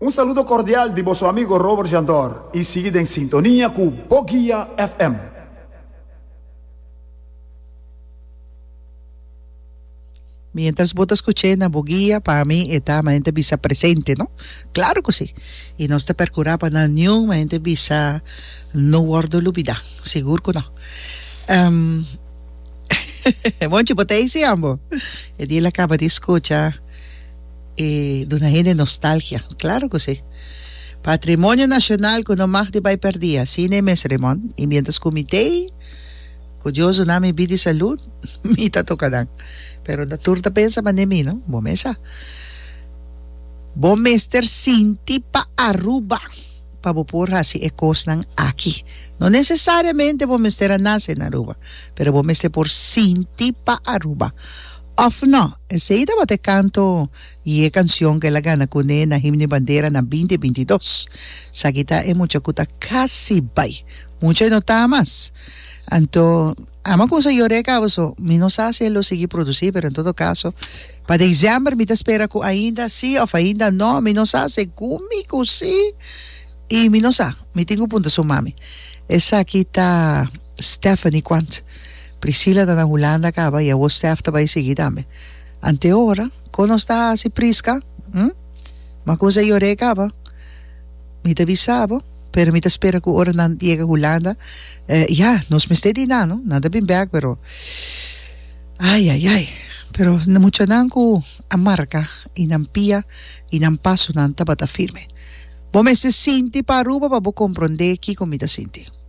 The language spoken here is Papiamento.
Un saludo cordial di boso amigo Robert Jandor y sigui den sintonia cu Boguia FM. Mientras bo ta scuch'é na bo guia, pa mi e ta manera ta bisa presente, no? Claro cu si. Y nos ta percura pa nan niun manera ta bisa no wordo lubida. Sigur cu no. Monchi, bo ta ey si ambo? E dia el a caba di scucha e duna hende nostalgia. Claro cu si. Patrimonio nacional cu no mag di bay perdi. Asina e mes, Raymond. Y mientras cu mi t'ey. Ku Dios duna mi bida i salud, mi ta toka nan. Pero no tur ta pensa manera mi, no? Bo mes sa. Bo mester sinti pa Aruba pa bo por hasi e kosnan aki. No nesesariamente bo mester a nase na Aruba, pero bo mester por sinti pa Aruba. Òf no? Esei tabata e kanto i e kansion ku el a gana kuné na Himno i Bandera na binti 22. Esaki ta e mucha ku ta kasi bai. Mucha e no ta mas. Anto, ama ku sa yor'é kaba so, mi no sa si e lo sigui produsí, pero en todo kaso, pa desèmber mi ta spera ku ainda sí òf ainda no, mi no sa, segun mi ku sí, i mi no sa, mi tin ku punta su mami. Esaki ta Stephanie Quant. Priscilla ta na Hulanda kaba i awor Steph ta bai sigui tambe. Ante ora, kon nos ta hasi Prisca? Hm? Ma ku sa yor'é kaba. Mi ta bisa bo, pero mi ta spera cu ora nan yega Hulanda, ya, nos mester di nan, no? Nan ta bin bek, pero, ay, ay, ay, pero muchanan cu a marca y nan pia y nan pasonan tabata firme. Bo mester sinti pa Aruba pa bo comprende kico mi ta sinti.